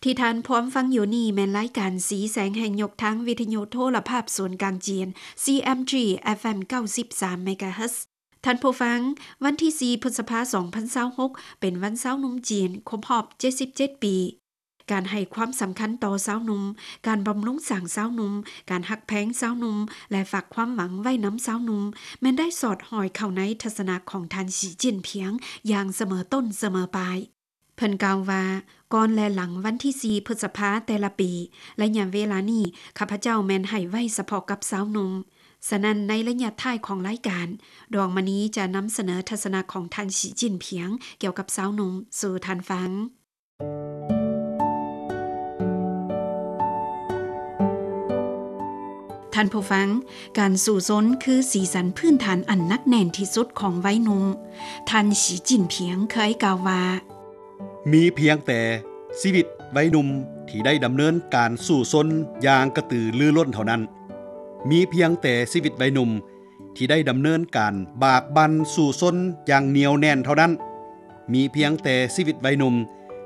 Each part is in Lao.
ທີ່ທ່ານພວມຟັງຢູ່ນີ້ແມ່ນລາຍການສີແສງແຫ່ງຍົກທາງ ວິທະຍຸໂທລະພາບສູນກາງຈີນ CMG FM ເກົ້າສິບສາມ MHz. ທ່ານຜູ້ຟັງ, ວັນທີສີ່ ພຶດສະພາ ສອງພັນຊາວຫົກ ເປັນວັນຊາວໜຸ່ມຈີນ ຄົບຮອບ ເຈັດສິບເຈັດປີ. ການໃຫ້ຄວາມສຳຄັນຕໍ່ຊາວໜຸ່ມ, ການບຳລຸງສ້າງຊາວໜຸ່ມ, ການຮັກແພງຊາວໜຸ່ມ ແລະ ຝາກຄວາມຫວັງໄວ້ນຳຊາວໜຸ່ມ ແມ່ນໄດ້ສອດຫ້ອຍເຂົ້າໃນທັດສະນະຂອງທ່ານ ສີ ຈິ້ນຜິງ ຢ່າງສະເໝີຕົ້ນສະເໝີປາຍ. ເພິ່ນກ່າວວ່າ, ກ່ອນ ແລະ ຫຼັງວັນທີສີ່ ພຶດສະພາແຕ່ລະປີ, ໄລຍະເວລານີ້ ຂ້າພະເຈົ້າແມ່ນໃຫ້ໄວ້ສະເພາະກັບຊາວໜຸ່ມ. ສະນັ້ນ, ໃນໄລຍະທ້າຍຂອງລາຍການ, ດວງມະນີຈະນຳສະເໜີທັດສະນະຂອງທ່ານ ສີ ຈິ້ນຜິງ ກ່ຽວກັບຊາວໜຸ່ມສູ່ທ່ານຟັງ. ທ່ານຜູ້ຟັງ, ການສູ້ຊົນຄືສີສັນພື້ນຖານອັນໜັກແໜ້ນທີ່ສຸດຂອງໄວໜຸ່ມ. ທ່ານ ສີ ຈິ້ນຜິງ ເຄີຍກ່າວວ່າ, ມີພຽງແຕ່ຊີວິດໄວໜຸ່ມທີ່ໄດ້ດຳເນີນການສູ້ຊົນຢ່າງກະຕືລືລົ້ນເທົ່ານັ້ນ. ມີພຽງແຕ່ຊີວິດໄວໜຸ່ມ ທີ່ໄດ້ດຳເນີນການບາກບັ່ນສູ້ຊົນຢ່າງໜຽວແໜ້ນເທົ່ານັ້ນ. ມີພຽງແຕ່ຊີວິດໄວໜຸ່ມ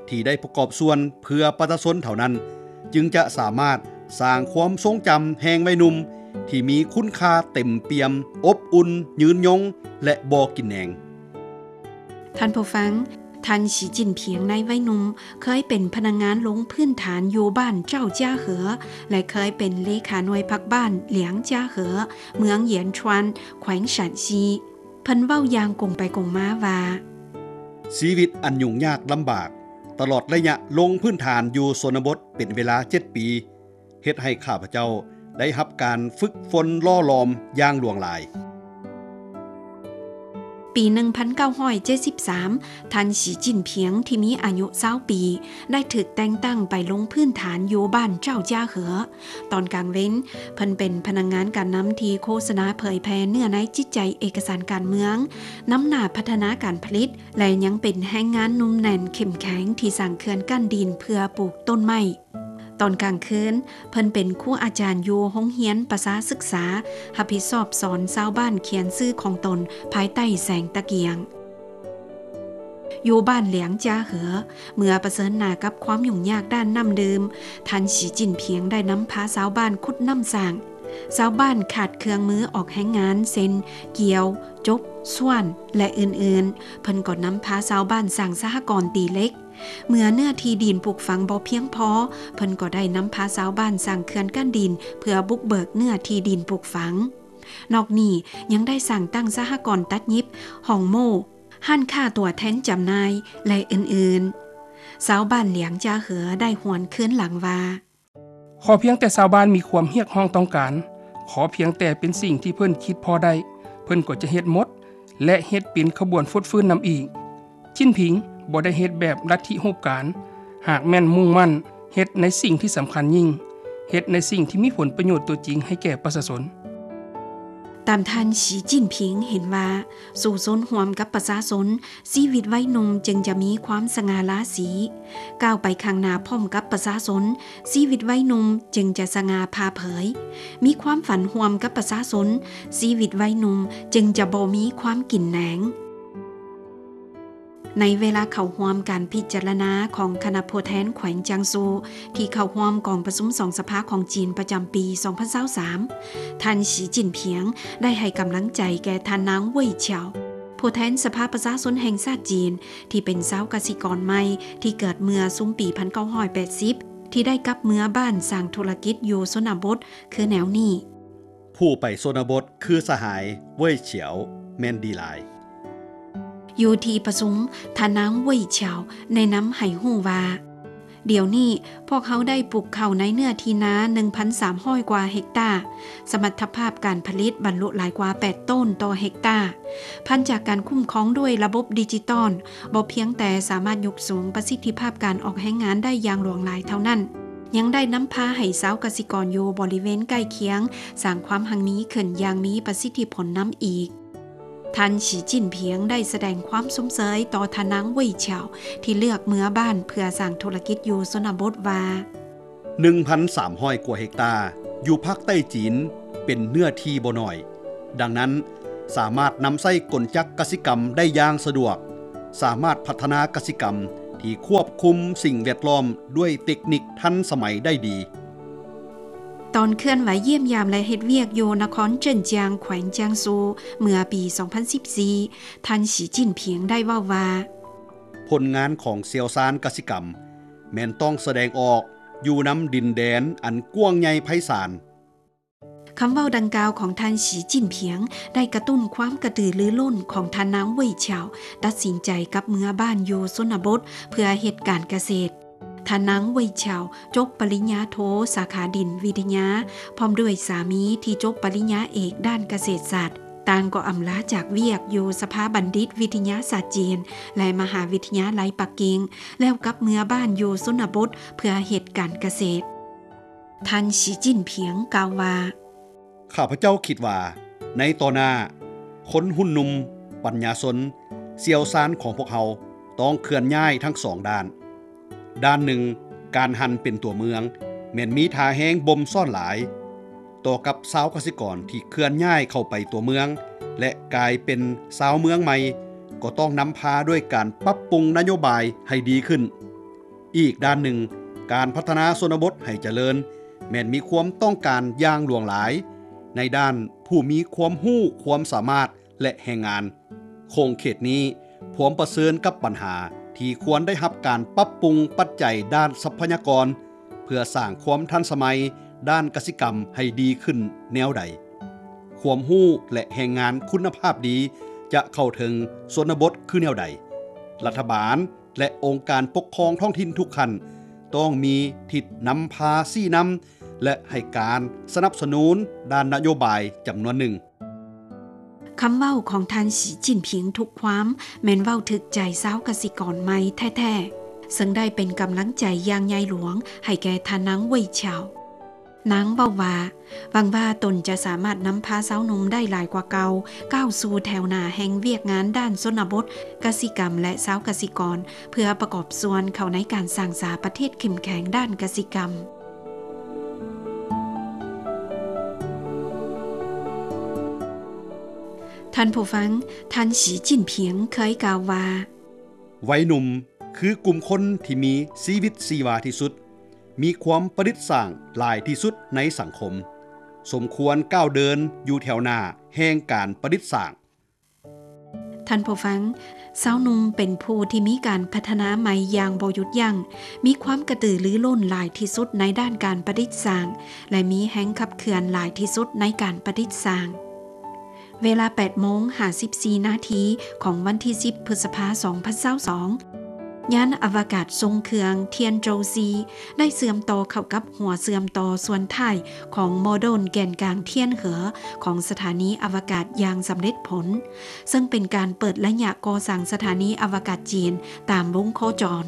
ທີ່ໄດ້ປະກອບສ່ວນເພື່ອປະຊາຊົນເທົ່ານັ້ນ ຈຶ່ງຈະສາມາດສ້າງຄວາມຊົງຈຳແຫ່ງໄວໜຸ່ມທີ່ມີຄຸນຄ່າເຕັມປ່ຽມ, ອົບອຸ່ນ, ຍືນຍົງ ແລະ ບໍ່ກິນແໜງ. ທ່ານຜູ້ຟັງ, ທ່ານ ສີ ຈິ້ນຜິງ ໃນໄວໜຸ່ມ ເຄີຍເປັນພະນັກງານລົງພື້ນຖານຢູ່ບ້ານເຈົ້າຈາເຫີ ແລະ ເຄີຍເປັນເລຂາໜ່ວຍພັກບ້ານຫຼຽງຈາເຫີ ເມືອງຢຽນຊວນ ແຂວງຊານຊີ. ເພິ່ນເວົ້າຢ່າງກົງໄປກົງມາວ່າ, ຊີວິດອັນຫຍຸ້ງຍາກລຳບາກ ຕະຫຼອດໄລຍະລົງພື້ນຖານຢູ່ຊົນນະບົດເປັນເວລາເຈັດປີ ເຮັດໃຫ້ຂ້າພະເຈົ້າໄດ້ຮັບການຝຶກຝົນຫຼໍ່ຫຼອມຢ່າງຫຼວງຫຼາຍ. ປີໜຶ່ງພັນເກົ້າຮ້ອຍເຈັດສິບສາມ ທ່ານ ສີ ຈິ້ນຜິງ ທີ່ມີອາຍຸຊາວປີ ໄດ້ຖືກແຕ່ງຕັ້ງໄປລົງພື້ນຖານຢູ່ບ້ານເຈົ້າຈາເຫີ. ຕອນກາງເວັນ, ເພິ່ນເປັນພະນັກງານການນຳທີ່ໂຄສະນາເຜີຍແຜ່ເນື້ອໃນຈິດໃຈເອກະສານການເມືອງ, ນຳໜ້າພັດທະນາການຜະລິດ ແລະ ຍັງເປັນແຮງງານໜຸ່ມແໜ້ນເຂັ້ມແຂງທີ່ສ້າງເຂື່ອນກັ້ນດິນເພື່ອປູກຕົ້ນໄມ້. ຕອນກາງຄືນ, ເພິ່ນເປັນຄູອາຈານຢູ່ໂຮງຮຽນປະຊາສຶກສາ, ຮັບຜິດຊອບສອນຊາວບ້ານຂຽນຊື່ຂອງຕົນພາຍໃຕ້ແສງຕະກຽງ. ຢູ່ບ້ານຫຼຽງຈາເຫີ, ເມື່ອປະເຊີນໜ້າກັບຄວາມຫຍຸ້ງຍາກດ້ານນ້ຳດື່ມ, ທ່ານ ສີ ຈິ້ນຜິງ ໄດ້ນຳພາຊາວບ້ານຂຸດນ້ຳສ້າງ. ຊາວບ້ານຂາດເຄື່ອງມືອອກແຮງງານ ເຊັ່ນ ກ່ຽວ, ຈົກ, ຊວນ ແລະ ອື່ນໆ. ເພິ່ນກໍນຳພາຊາວບ້ານສ້າງສະຫະກອນຕີເຫຼັກ. ເມື່ອເນື້ອທີ່ດິນປູກຝັງບໍ່ພຽງພໍ, ເພິ່ນກໍໄດ້ນຳພາຊາວບ້ານສ້າງເຂື່ອນກັ້ນດິນ ເພື່ອບຸກເບີກເນື້ອທີ່ດິນປູກຝັງ. ນອກນີ້ຍັງໄດ້ສ້າງຕັ້ງສະຫະກອນຕັດຫຍິບ, ຫ້ອງໂມ້, ຮ້ານຄ້າຕົວແທນຈຳໜ່າຍ ແລະ ອື່ນໆ. ຊາວບ້ານຫຼຽງຈາເຫີໄດ້ຫວນຄືນຫຼັງວ່າ, ຂໍພຽງແຕ່ຊາວບ້ານມີຄວາມຮຽກຮ້ອງຕ້ອງການ, ຂໍພຽງແຕ່ເປັນສິ່ງທີ່ເພິ່ນຄິດພໍໄດ້, ເພິ່ນກໍຈະເຮັດໝົດ ແລະ ເຮັດເປັນຂະບວນຟົດຟື້ນນຳອີກ. ຈິ້ນຜິງບໍ່ໄດ້ເຮັດແບບລັດທິຮູບການ, ຫາກແມ່ນມຸ່ງໝັ້ນເຮັດໃນສິ່ງທີ່ສຳຄັນຍິ່ງ, ເຮັດໃນສິ່ງທີ່ມີຜົນປະໂຫຍດຕົວຈິງໃຫ້ແກ່ປະຊາຊົນ. ຕາມທ່ານ ສີ ຈິ້ນຜິງ ເຫັນວ່າ, ສູ້ຊົນຮ່ວມກັບປະຊາຊົນ, ຊີວິດໄວໜຸ່ມຈຶ່ງຈະມີຄວາມສະຫງ່າລາສີ. ກ້າວໄປຂ້າງໜ້າພ້ອມກັບປະຊາຊົນ, ຊີວິດໄວໜຸ່ມຈຶ່ງຈະສະຫງ່າຜ່າເຜີຍ. ມີຄວາມຝັນຮ່ວມກັບປະຊາຊົນ, ຊີວິດໄວໜຸ່ມຈຶ່ງຈະບໍ່ມີຄວາມກິນແໜງ. ໃນເວລາເຂົ້າຮ່ວມການພິຈາລະນາຂອງຄະນະຜູ້ແທນແຂວງຈາງຊູ ທີ່ເຂົ້າຮ່ວມກອງປະຊຸມສອງສະພາຂອງຈີນປະຈຳປີສອງພັນຊາວສາມ, ທ່ານ ສີ ຈິ້ນຜິງ ໄດ້ໃຫ້ກຳລັງໃຈແກ່ທ່ານນາງ ເຫວີຍ ເສຍວ ຜູ້ແທນສະພາປະຊາຊົນແຫ່ງຊາດຈີນ ທີ່ເປັນຊາວກະສິກອນໃໝ່ທີ່ເກີດເມື່ອຊຸມປີພັນເກົ້າຮ້ອຍແປດສິບ ທີ່ໄດ້ກັບເມືອບ້ານສ້າງທຸລະກິດຢູ່ຊົນນະບົດ ຄືແນວນີ້. ຜູ້ໄປຊົນນະບົດຄືສະຫາຍ ເຫວີຍ ເສຍວ ແມ່ນດີຫຼາຍ. ຢູ່ທີ່ປະຊຸມ, ທ່ານນາງ ເຫວີຍ ເສຍວ ແນະນຳໃຫ້ຮູ້ວ່າ, ດຽວນີ້ພວກເຮົາໄດ້ປູກເຂົ້າໃນເນື້ອທີ່ນາໜຶ່ງພັນສາມຮ້ອຍກວ່າເຮັກຕາ, ສະມັດຖະພາບການຜະລິດບັນລຸຫຼາຍກວ່າແປດໂຕນຕໍ່ເຮັກຕາ. ພັນຈາກການຄຸ້ມຄອງດ້ວຍລະບົບດິຈິຕອນ, ບໍ່ພຽງແຕ່ສາມາດຍົກສູງປະສິດທິພາບການອອກແຮງງານໄດ້ຢ່າງຫຼວງຫຼາຍເທົ່ານັ້ນ, ຍັງໄດ້ນຳພາໃຫ້ຊາວກະສິກອນຢູ່ບໍລິເວນໃກ້ຄຽງ ສ້າງຄວາມຮັ່ງມີຂຶ້ນຢ່າງມີປະສິດທິຜົນນຳອີກ. ທ່ານ ສີ ຈິ້ນຜິງ ໄດ້ສະແດງຄວາມຊົມເຊີຍຕໍ່ທ່ານນາງ ເຫວີຍ ເສຍວ ທີ່ເລືອກເມືອບ້ານເພື່ອສ້າງທຸລະກິດຢູ່ຊົນນະບົດວ່າ, ໜຶ່ງພັນສາມຮ້ອຍກວ່າເຮັກຕາຢູ່ພາກໃຕ້ຈີນເປັນເນື້ອທີ່ບໍ່ໜ້ອຍ, ດັ່ງນັ້ນ ສາມາດນຳໃຊ້ກົນຈັກກະສິກຳໄດ້ຢ່າງສະດວກ, ສາມາດພັດທະນາກະສິກຳ ທີ່ຄວບຄຸມສິ່ງແວດລ້ອມດ້ວຍເຕັກນິກທັນສະໄໝໄດ້ດີ. ຕອນເຄື່ອນໄຫວຢ້ຽມຢາມ ແລະ ເຮັດວຽກຢູ່ນະຄອນເຈິນຈຽງ ແຂວງຈຽງຊູ ເມື່ອປີສອງພັນສິບສີ່ ທ່ານ ສີ ຈິ້ນຜິງ ໄດ້ເວົ້າວ່າ: ຜົນງານຂອງຊ່ຽວຊານກະສິກຳ ແມ່ນຕ້ອງສະແດງອອກຢູ່ນຳດິນແດນອັນກວ້າງໃຫຍ່ໄພສານ. ຄຳເວົ້າດັ່ງກ່າວຂອງທ່ານ ສີ ຈິ້ນຜິງ ໄດ້ກະຕຸ້ນຄວາມກະຕືລືລົ້ນຂອງທ່ານນາງ ເຫວີຍ ເຊົາ ຕັດສິນໃຈກັບເມືອບ້ານຢູ່ຊົນນະບົດເພື່ອເຮັດການກະເສດ. ທ່ານນາງ ເຫວີຍ ເຊົາ ຈົບປະລິນຍາໂທສາຂາດິນວິທະຍາ ພ້ອມດ້ວຍສາມີທີ່ຈົບປະລິນຍາເອກດ້ານກະເສດສາດ, ຕ່າງກໍອຳລາຈາກວຽກຢູ່ສະພາບັນດິດວິທະຍາສາດຈີນ ແລະ ມະຫາວິທະຍາໄລປັກກິ່ງ ແລ້ວກັບເມືອບ້ານຢູ່ຊົນນະບົດເພື່ອເຮັດການກະເສດ. ທ່ານ ສີ ຈິ້ນຜິງ ກ່າວວ່າ: ຂ້າພະເຈົ້າຄິດວ່າ ໃນຕໍ່ໜ້າ, ຄົນຮຸ່ນໜຸ່ມ, ປັນຍາຊົນ, ຊ່ຽວຊານຂອງພວກເຮົາຕ້ອງເຄື່ອນຍ້າຍທັງສອງດ້ານ. ດ້ານໜຶ່ງ, ການຫັນເປັນຕົວເມືອງ ແມ່ນມີທ່າແຮງບົ່ມຊ້ອນຫຼາຍ. ຕໍ່ກັບຊາວກະສິກອນທີ່ເຄື່ອນຍ້າຍເຂົ້າໄປຕົວເມືອງ ແລະ ກາຍເປັນຊາວເມືອງໃໝ່, ກໍຕ້ອງນຳພາດ້ວຍການປັບປຸງນະໂຍບາຍໃຫ້ດີຂຶ້ນ. ອີກດ້ານໜຶ່ງ, ການພັດທະນາຊົນນະບົດໃຫ້ຈະເລີນ ແມ່ນມີຄວາມຕ້ອງການຢ່າງຫຼວງຫຼາຍ ໃນດ້ານຜູ້ມີຄວາມຮູ້ຄວາມສາມາດ ແລະ ແຮງງານ. ຂົງເຂດນີ້ພວມປະເຊີນກັບບັນຫາທີ່ຄວນໄດ້ຮັບການປັບປຸງປັດໄຈດ້ານຊັບພະຍາກອນ ເພື່ອສ້າງຄວາມທັນສະໄໝດ້ານກະສິກຳໃຫ້ດີຂຶ້ນແນວໃດ? ຄວາມຮູ້ ແລະ ແຮງງານຄຸນນະພາບດີຈະເຂົ້າເຖິງຊົນນະບົດຄືແນວໃດ? ລັດຖະບານ ແລະ ອົງການປົກຄອງທ້ອງຖິ່ນທຸກຂັ້ນ ຕ້ອງມີທິດນຳພາຊີ້ນຳ ແລະ ໃຫ້ການສະໜັບສະໜູນດ້ານນະໂຍບາຍຈຳນວນໜຶ່ງ. ຄຳເວົ້າຂອງທ່ານ ສີ ຈິ້ນຜິງ ທຸກຄວາມ ແມ່ນເວົ້າຖືກໃຈຊາວກະສິກອນໃໝ່ແທ້ໆ, ເຊິ່ງໄດ້ເປັນກຳລັງໃຈຢ່າງໃຫຍ່ຫຼວງໃຫ້ແກ່ທ່ານນາງ ເຫວີຍ ເຊົາ. ນາງເວົ້າວ່າ ຫວັງວ່າຕົນຈະສາມາດນຳພາຊາວໜຸ່ມໄດ້ຫຼາຍກວ່າເກົ່າ ກ້າວສູ່ແຖວໜ້າແຫ່ງວຽກງານດ້ານຊົນນະບົດ, ກະສິກຳ ແລະ ຊາວກະສິກອນ ເພື່ອປະກອບສ່ວນເຂົ້າໃນການສ້າງສາປະເທດເຂັ້ມແຂງດ້ານກະສິກຳ. ທ່ານຜູ້ຟັງ, ທ່ານ ສີ ຈິ້ນຜິງ ເຄີຍກ່າວວ່າ: ໄວໜຸ່ມຄືກຸ່ມຄົນທີ່ມີຊີວິດຊີວາທີ່ສຸດ, ມີຄວາມປະດິດສ້າງຫຼາຍທີ່ສຸດໃນສັງຄົມ, ສົມຄວນກ້າວເດີນຢູ່ແຖວໜ້າແຫ່ງການປະດິດສ້າງ. ທ່ານຜູ້ຟັງ, ຊາວໜຸ່ມເປັນຜູ້ທີ່ມີການພັດທະນາໃໝ່ຢ່າງບໍ່ຢຸດຢັ້ງ, ມີຄວາມກະຕືລືລົ້ນຫຼາຍທີ່ສຸດໃນດ້ານການປະດິດສ້າງ ແລະ ມີແຮງຂັບເຄື່ອນຫຼາຍທີ່ສຸດໃນການປະດິດສ້າງ. ເວລາແປດໂມງຫ້າສິບສີ່ນາທີຂອງວັນທີສິບ ພຶດສະພາ ສອງພັນຊາວສອງ ຍານອະວະກາດຊົງເຄື່ອງທຽນໂຈຊີ ໄດ້ເຊື່ອມຕໍ່ເຂົ້າກັບຫົວເຊື່ອມຕໍ່ສ່ວນທ້າຍຂອງໂມດູນແກນກາງທຽນເຫີ ຂອງສະຖານີອະວະກາດຢ່າງສຳເລັດຜົນ, ເຊິ່ງເປັນການເປີດໄລຍະກໍ່ສ້າງສະຖານີອະວະກາດຈີນຕາມວົງໂຄຈອນ.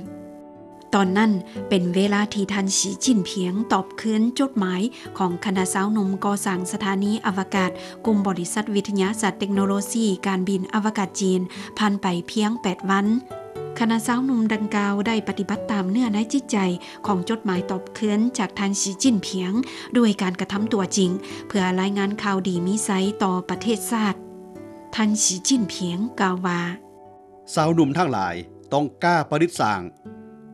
ຕອນນັ້ນເປັນເວລາທີ່ທ່ານ ສີ ຈິ້ນຜິງ ຕອບຄືນຈົດໝາຍຂອງຄະນະຊາວໜຸ່ມກໍ່ສ້າງສະຖານີອະວະກາດ ກຸ່ມບໍລິສັດວິທະຍາສາດເຕັກໂນໂລຊີການບິນອະວະກາດຈີນ ຜ່ານໄປພຽງແປດວັນ. ຄະນະຊາວໜຸ່ມດັ່ງກ່າວໄດ້ປະຕິບັດຕາມເນື້ອໃນຈິດໃຈຂອງຈົດໝາຍຕອບຄືນຈາກທ່ານ ສີ ຈິ້ນຜິງ ດ້ວຍການກະທຳຕົວຈິງ ເພື່ອລາຍງານຂ່າວດີມີໄຊຕໍ່ປະເທດຊາດ. ທ່ານ ສີ ຈິ້ນຜິງ ກ່າວວ່າ: ຊາວໜຸ່ມທັງຫຼາຍຕ້ອງກ້າປະດິດສ້າງ.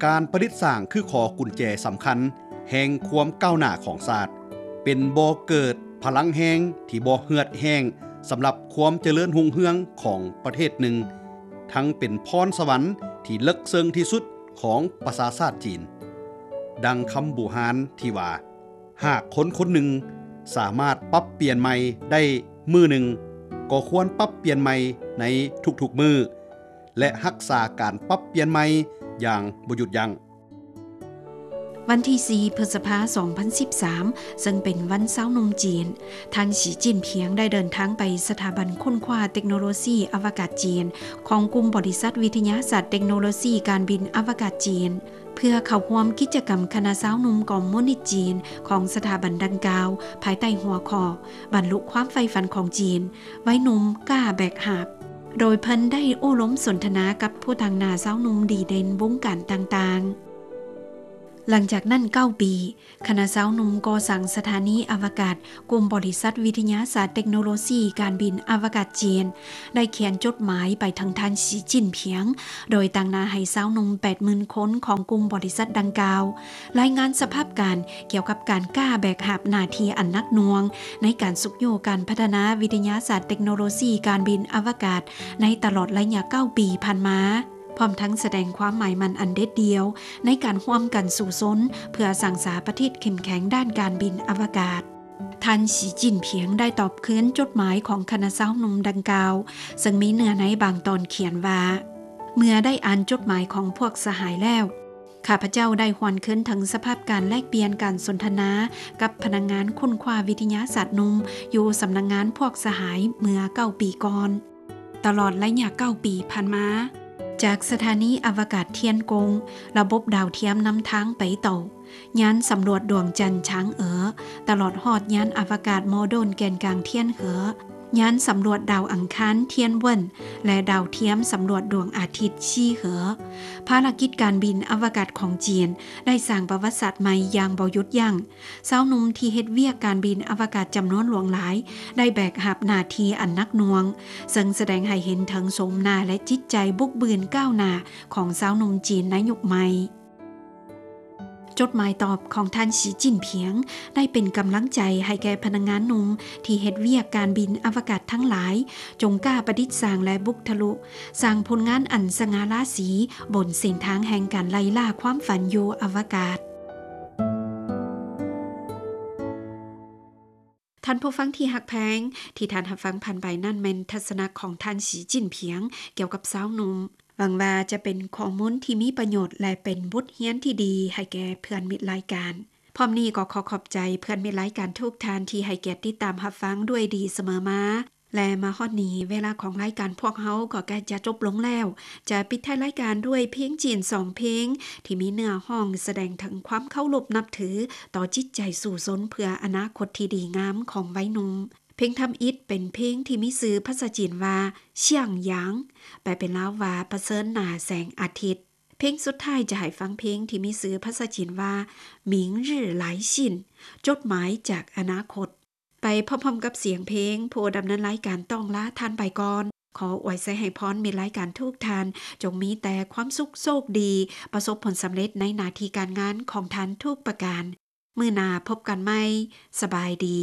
ການປະດິດສ້າງຄືຂໍ້ກຸນແຈສຳຄັນແຫ່ງຄວາມກ້າວໜ້າຂອງຊາດ, ເປັນບໍ່ເກີດພະລັງແຮງທີ່ບໍ່ເຫືອດແຫ້ງສຳລັບຄວາມຈະເລີນຮຸ່ງເຮືອງຂອງປະເທດໜຶ່ງ, ທັງເປັນພອນສະຫວັນທີ່ເລິກເຊິ່ງທີ່ສຸດຂອງປະຊາຊາດຈີນ. ດັ່ງຄຳບູຮານທີ່ວ່າ, ຫາກຄົນຄົນໜຶ່ງສາມາດປັບປ່ຽນໃໝ່ໄດ້ມື້ໜຶ່ງ, ກໍຄວນປັບປ່ຽນໃໝ່ໃນທຸກໆມື້ ແລະ ຮັກສາການປັບປ່ຽນໃໝ່ຢ່າງບໍ່ຢຸດຢັ້ງ. ວັນທີສີ່ ພຶດສະພາ ສອງພັນສິບສາມ ເຊິ່ງເປັນວັນຊາວໜຸ່ມຈີນ, ທ່ານ ສີ ຈິ້ນຜິງ ໄດ້ເດີນທາງໄປສະຖາບັນຄົ້ນຄວ້າເຕັກໂນໂລຊີອະວະກາດຈີນ ຂອງກຸ່ມບໍລິສັດວິທະຍາສາດເຕັກໂນໂລຊີການບິນອະວະກາດຈີນ ເພື່ອເຂົ້າຮ່ວມກິດຈະກຳຄະນະຊາວໜຸ່ມຄອມມູນິດຈີນຂອງສະຖາບັນດັ່ງກ່າວ ພາຍໃຕ້ຫົວຂໍ້ ບັນລຸຄວາມໃຝ່ຝັນຂອງຈີນ, ໄວໜຸ່ມກ້າແບກຫາບ, ໂດຍເພິ່ນໄດ້ໂອ້ລົມສົນທະນາກັບຜູ້ຕາງໜ້າຊາວໜຸ່ມດີເດັ່ນວົງການຕ່າງໆ. ຫຼັງຈາກນັ້ນເກົ້າປີ, ຄະນະຊາວໜຸ່ມກໍ່ສ້າງສະຖານີອະວະກາດ ກຸ່ມບໍລິສັດວິທະຍາສາດເຕັກໂນໂລຊີການບິນອະວະກາດຈີນ ໄດ້ຂຽນຈົດໝາຍໄປເຖິງທ່ານ ສີ ຈິ້ນຜິງ ໂດຍຕາງໜ້າໃຫ້ຊາວໜຸ່ມແປດໝື່ນຄົນຂອງກຸ່ມບໍລິສັດດັ່ງກ່າວ ລາຍງານສະພາບການກ່ຽວກັບການກ້າແບກຫາບໜ້າທີ່ອັນໜັກໜ່ວງ ໃນການຊຸກຍູ້ການພັດທະນາວິທະຍາສາດເຕັກໂນໂລຊີການບິນອະວະກາດ ໃນຕະຫຼອດໄລຍະເກົ້າປີຜ່ານມາ, ພ້ອມທັງສະແດງຄວາມໝາຍໝັ້ນອັນເດັດດ່ຽວ ໃນການຮ່ວມກັນສູ້ຊົນ ເພື່ອສ້າງສາປະເທດເຂັ້ມແຂງດ້ານການບິນອະວະກາດ. ທ່ານ ສີ ຈິ້ນຜິງ ໄດ້ຕອບຄືນຈົດໝາຍຂອງຄະນະຊາວໜຸ່ມດັ່ງກ່າວ, ເຊິ່ງມີເນື້ອໃນບາງຕອນຂຽນວ່າ, ເມື່ອໄດ້ອ່ານຈົດໝາຍຂອງພວກສະຫາຍແລ້ວ, ຂ້າພະເຈົ້າໄດ້ຫວນຄືນເຖິງສະພາບການແລກປ່ຽນການສົນທະນາກັບພະນັກງານຄົ້ນຄວ້າວິທະຍາສາດໜຸ່ມຢູ່ສຳນັກງານພວກສະຫາຍເມື່ອເກົ້າປີກ່ອນ. ຕະຫຼອດໄລຍະເກົ້າປີຜ່ານມາ, ຈາກສະຖານີອະວະກາດທຽນກົງ, ລະບົບດາວທຽມນຳທາງໄປຕໍ່, ຍານສຳຫຼວດດວງຈັນ ຊາງເອີ, ຕະຫຼອດຮອດຍານອະວະກາດໂມເດີນແກນກາງທຽນເຫີ, ຍານສຳຫຼວດດາວອັງຄານທຽນເວິນ ແລະ ດາວທຽມສຳຫຼວດດວງອາທິດ ຊີເຫີ, ພາລະກິດການບິນອະວະກາດຂອງຈີນໄດ້ສ້າງປະຫວັດສາດໃໝ່ຢ່າງບໍ່ຢຸດຢັ້ງ. ຊາວໜຸ່ມທີ່ເຮັດວຽກການບິນອະວະກາດຈຳນວນຫຼວງຫຼາຍ ໄດ້ແບກຫາບໜ້າທີ່ອັນໜັກໜ່ວງ, ເຊິ່ງສະແດງໃຫ້ເຫັນເຖິງໂສມໜ້າ ແລະ ຈິດໃຈບຸກບືນກ້າວໜ້າຂອງຊາວໜຸ່ມຈີນໃນຍຸກໃໝ່. ຈົດໝາຍຕອບຂອງທ່ານ ສີ ຈິ້ນຜິງ ໄດ້ເປັນກຳລັງໃຈໃຫ້ແກ່ພະນັກງານໜຸ່ມທີ່ເຮັດວຽກການບິນອະວະກາດທັງຫຼາຍ, ຈົ່ງກ້າປະດິດສ້າງ ແລະ ບຸກທະລຸ ສ້າງຜົນງານອັນສະຫງ່າລາສີບົນເສັ້ນທາງແຫ່ງການໄລ່ລ່າຄວາມຝັນຢູ່ອະວະກາດ. ທ່ານຜູ້ຟັງທີ່ຮັກແພງ, ທີ່ທ່ານຮັບຟັງຜ່ານໄປນັ້ນແມ່ນທັດສະນະຂອງທ່ານ ສີ ຈິ້ນຜິງ ກ່ຽວກັບຊາວໜຸ່ມ. ຫວັງວ່າຈະເປັນຂໍ້ມູນທີ່ມີປະໂຫຍດ ແລະ ເປັນບົດຮຽນທີ່ດີໃຫ້ແກ່ເພື່ອນມິດລາຍການ. ພ້ອມນີ້ກໍຂໍຂອບໃຈເພື່ອນມິດລາຍການທຸກທ່ານທີ່ໃຫ້ກຽດຕິດຕາມຮັບຟັງດ້ວຍດີສະເໝີມາ. ແລະ ມາຮອດນີ້ ເວລາຂອງລາຍການພວກເຮົາກໍໃກ້ຈະຈົບລົງແລ້ວ. ຈະປິດທ້າຍລາຍການດ້ວຍເພງຈີນສອງເພງ ທີ່ມີເນື້ອຮ້ອງສະແດງເຖິງຄວາມເຄົາລົບນັບຖືຕໍ່ຈິດໃຈສູ້ຊົນເພື່ອອະນາຄົດທີ່ດີງາມຂອງໄວໜຸ່ມ. ເພງທຳອິດເປັນເພງທີ່ມີຊື່ພາສາຈີນວ່າ ຊຽງຢາງ ແປເປັນລາວວ່າ ປະເຊີນໜ້າແສງອາທິດ. ເພງສຸດທ້າຍຈະໃຫ້ຟັງເພງທີ່ມີຊື່ພາສາຈີນວ່າ 明日来信 ຈົດໝາຍຈາກອະນາຄົດ. ໄປພ້ອມໆກັບສຽງເພງ, ຜູ້ດຳເນີນລາຍການຕ້ອງລາທ່ານໄປກ່ອນ. ຂໍອວຍໄຊໃຫ້ພອນມິດລາຍການທຸກທ່ານ ຈົ່ງມີແຕ່ຄວາມສຸກໂຊກດີ, ປະສົບຜົນສຳເລັດໃນໜ້າທີ່ການງານຂອງທ່ານທຸກປະການ. ມື້ໜ້າພົບກັນໃໝ່. ສະບາຍດີ.